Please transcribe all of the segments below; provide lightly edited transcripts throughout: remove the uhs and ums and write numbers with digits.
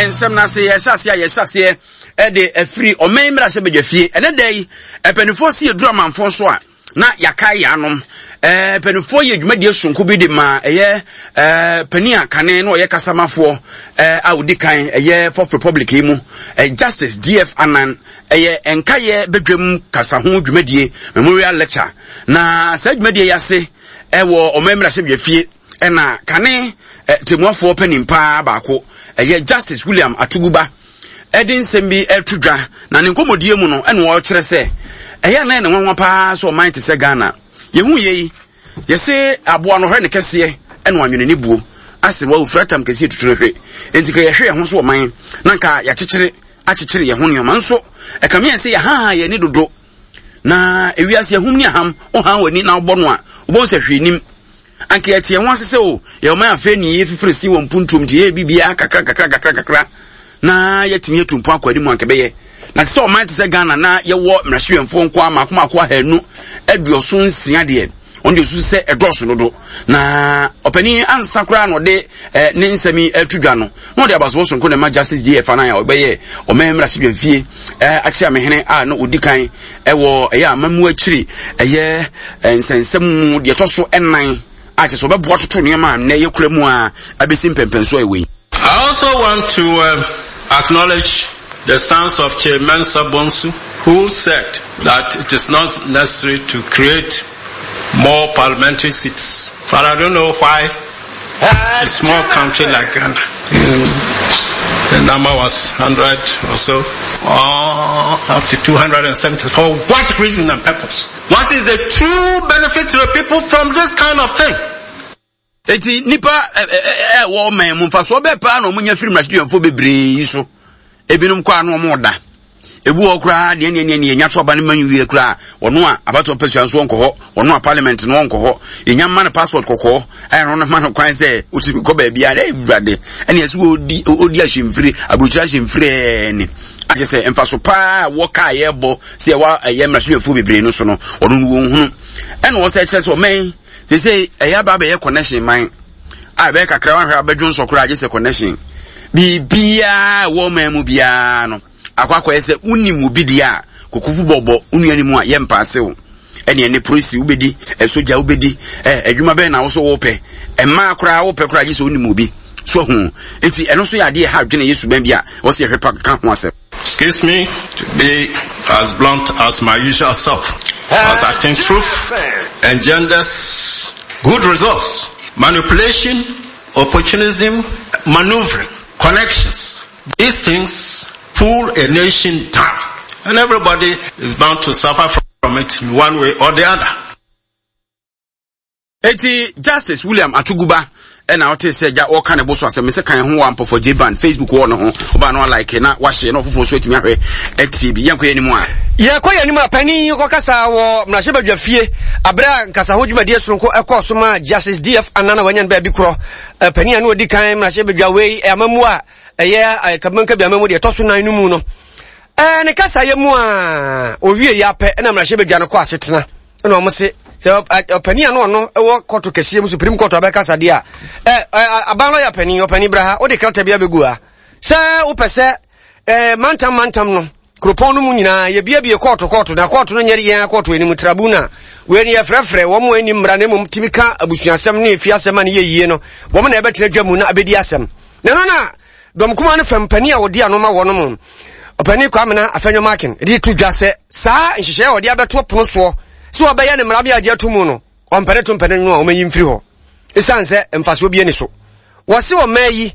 nsɛm no ase. Yɛhyɛ aseɛ a yɛhyɛ aseɛ ɛde afiri ɔman mmarahyɛ badwa fie. Ɛnɛ da yi, mpanimfoɔ si yɛduru amanfoɔ so a, na yɛakae yɛn anom. Ɛɛ mpanimfoɔ yɛ dwumadie sononko bi de ma ɛyɛ ɛɛ panin a kane na ɔyɛ kasamafoɔ ɛɛ a ɔdi kan ɛyɛ Fourth Republic yi mu ɛɛ Justice DF Annan ɛyɛ nkaeɛ badwam kasa ho dwumadie memorial lecture na saa dwumadie yi ase ɛwɔ ɔman mmarahyɛbadwa fie ɛna kane tɛmmuafoɔ panin paa baako ɛyɛ Justice William Atuguba ɛde nsɛm bi ɛto dwa na ne nkɔmmɔdie mu no ɛna ɔkyerɛ sɛ ɛyɛ anan ne nwanwa paa sɛ ɔman te sɛ Ghana yɛhu yei yɛse aboa no hwɛ ne kɛseɛ ɛna wanwene ne buo ase wa ofura tam kɛseɛ tutu no hwe enti ka yɛhwɛ yɛn ho so ɔman na nka yɛakyekyere akyekyere yɛn ho nneɛma nso ɛkame yɛn sɛ yɛhaha yɛn ani dodo na ewiase ahum ne aham wohan w'ani na wobɔ no a wobɛhu sɛ hwee nim Anka yɛte yɛn ho ase sɛ o, yɛwɔ man afei ne yɛfifiri si wɔ mpuntuom nti yɛyɛ biribiara kakra kakra kakra kakra na yɛatumi atu mpɔn akɔ anim anka ɛbɛyɛ. Na te sɛ ɔman te sɛ Ghana na yɛwɔ mmarahyɛwɛmfoɔ nko ara mmaako mmaako 276 deɛ, ɔno deɛ ɔsusu sɛ ɛdɔɔso dodo. Na ɔpanin ansa koraa na ɔde eh, ne nsɛm yi ato dwa no, na ɔde abasobɔ sonko na ɛma Justice JF Anan a ɔbɛyɛ ɔman mmarahyɛbadwamfie eh, akyeamehene a na ɔdi kan ɛwɔ ɛyɛ amammu akyiri ɛyɛ nsɛnsɛm mu deɛ ɛtɔ so ɛnan a kyerɛ sɛ ɔbɛboa toto nneɛma a nnɛ yɛkura mu a abɛsi mpɛmpɛnso a ɛwɔ yi. I also want to uh, acknowledge the stance of Chair Mensa Bonsu, who said that it is not necessary to create more parliamentary seats. But I don't know why a small country like Ghana, the number was 100 or so, or up to 270. For what reason and purpose? What is the true benefit to the people from this kind of thing? Eti nipa ɛwɔ ɔman mu mfasoɔ bɛɛ paa na wɔn nya firi mmarahyɛdwamfoɔ bebree yi so. Ebinom kɔ ano wɔn da. Ebi wɔ koraa deɛ neɛ neɛ neɛ nya so aba no ma nwie koraa ɔno a abatoɔ pɛsua nso ɔnkɔ hɔ ɔno a parliament no ɔnkɔ hɔ yɛnya mma no passport kɔkɔɔ ɛyɛ no ma no kwan sɛ ɔtumi kɔ baabi a ɛwurade ɛne ɛsɛ ɔdi ɔdi ahyɛmfiri aburokyire ahyɛmfiri ɛne akyɛ sɛ mfaso paa wɔ kaa yɛbɔ sɛ ɛwɔ ɛyɛ mmarahyɛbadwafoɔ bebree no so no ɔno no wɔn hunu ɛna ɔsɛ kyerɛ sɛ ɔmɛn sɛ ɛyɛ aba abɛyɛ connection man a ɛbɛyɛ kakra wahwɛ abɛdwo nsɔ koraa agye sɛ connection biribiara ɛwɔ ɔman mu biara no akɔ akɔyɛ sɛ wonim obi deɛ a kokofu bɔbɔ wo nua no mu a yɛ mpaase wo ɛne ɛne polisi wobɛdi ɛsogya wobɛdi ɛ adwuma bɛn na wo so wopɛ mmaa koraa wopɛ koraa gye sɛ wonim obi so ahu nti ɛno nso yɛ adeɛ ɛha adwene yɛ suban bi a wɔsɛ yɛhwɛ pa ka ho asɛm. Excuse me to be as blunt as my usual self, as I think truth engenders good results. Manipulation, opportunism, maneuvering, connections. These things pull a nation down. And everybody is bound to suffer from it in one way or the other. Eti Justice William Atuguba ɛna ɔte sɛ gya ɔka ne bo so asɛm sɛ kan ho wɔ ampɔfɔ J band Facebook wɔ no ho ɔba no alike na wahyɛ na ɔfoforɔ nso atumi ahwɛ atie bi yɛnkɔ yɛn anim a. Yɛkɔ yɛn anim a panin yi kɔkasa wɔ mmarahyɛbadwa fie abere a nkasaho dwumadie soronko ɛkɔɔ so ma Justice DF Annan a wanya no baabi korɔ panin a na ɔdi kan mmarahyɛbadwa wei amammuo a ɛyɛ Kabimankabi amammuo deɛ ɛtɔ so nan no mu no ne kasayɛ mu a ɔwie yɛ apɛ ɛna mmarahyɛbadwa no kɔ asetena ɛna wɔn se sɛ ɔpanin a na ɔno wɔ kɔto kɛseɛ mu supreme court abɛkasa deɛ a ɛ aban lɔya panin ɔpanin bra ha wode krataa bi abɛgu ha sɛ wopɛ sɛ ɛ mantam mantam no kuropɔn no mu nyinaa yɛbiebie kɔɔto kɔɔto na kɔɔto no nyɛ yɛn akɔɔto anim tribunal wei no yɛfrɛfrɛ wɔn a ɛnim mmara na mmom tumi ka abusuasɛm ne efiasɛm a ne yɛ yie no wɔn na ɛbɛtena dwa mu na abɛdi asɛm na ɛno na Dɔm kumaa no fam panin a ɔdi ano ma wɔnom, Ɔpanin Kwamena Afenyo-Markin, de to dwa sɛ saa nhyehyɛe a wɔde abɛto pono soɔ sɛ wɔbɛyɛ no mmara bi agye ato mu no, ɔmpɛ ne to mpɛ ne nwo a wɔmɛyi mfiri hɔ ɛsiane sɛ mfasoɔ bi ani so. Wɔse ɔmaa yi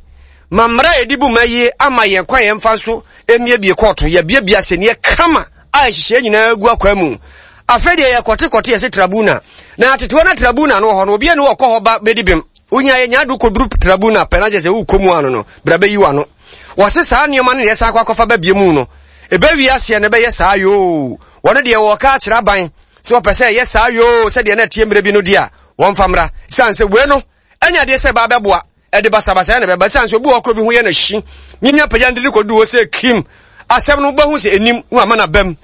ma mmara a yɛde bu ma yi ama yɛn kwan yɛmfa nso mmiebie kɔɔto, yɛbiebie asɛnniɛ kama a nhyehyɛe nyinaa gu akwaa mu. Afei deɛ yɛkɔtekɔte yɛse tribunal, na tetewa na tribunal no wɔ hɔ no, obi ani wɔkɔ hɔ ba bɛdi bem. Wonya yɛ nya do kɔduru tribunal pɛ na kyerɛ sɛ wokɔ mu ano no, bra bɛyi w'ano. Wɔse saa nneɛma no na yɛsan akɔ akɔfa ba bie mu no, ɛbɛwie aseɛ no ɛbɛyɛ saa yoo. Wɔno deɛ wɔka akyerɛ aban sɛ wɔpɛ sɛ ɛyɛ saa yoo sɛdeɛ na ɛteɛ mmerɛ bi no deɛ a, wɔmfa mmra. Siane sɛ wei no ɛnyɛ adeɛ sɛ ɛbaa bɛboa, ɛde basabasayɛ na ɛbɛba. Siane sɛ obi wɔ hɔ korɔ bi ho yɛ no hye, nyanya pagya no de no kɔduru hɔ sɛ kim, asɛm no wobɛhu sɛ ɛnim na wama no abam.